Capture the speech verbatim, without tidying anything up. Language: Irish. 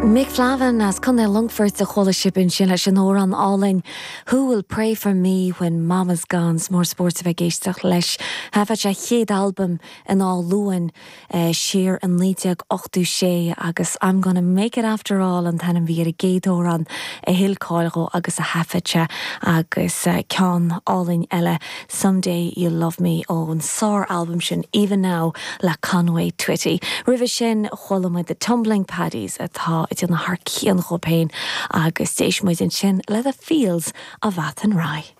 Mick Flavin as Contae Longfoirt a chuala sibh ansin leis an amhrán álainn Who will pray for me when mama's gone mór spórt a bheith ag éisteacht leis. Thaifead sé a chéad albam in Áth Luain uh, siar in naoi déag ochtó sé agus I'm gonna make it after all an t-ainm a bhí ar an gcéad amhrán a thuill cáil dó agus a thaifead sé agus uh, ceann álainn eile Someday You'll Love Me ón sár album sin Even Now le Conway Twitty. Roimhe sin chuala muid the Tumbling Paddies atá ag déanamh thar cionn dóibh féin agus d'éist muid ansin le the Fields of Athenry.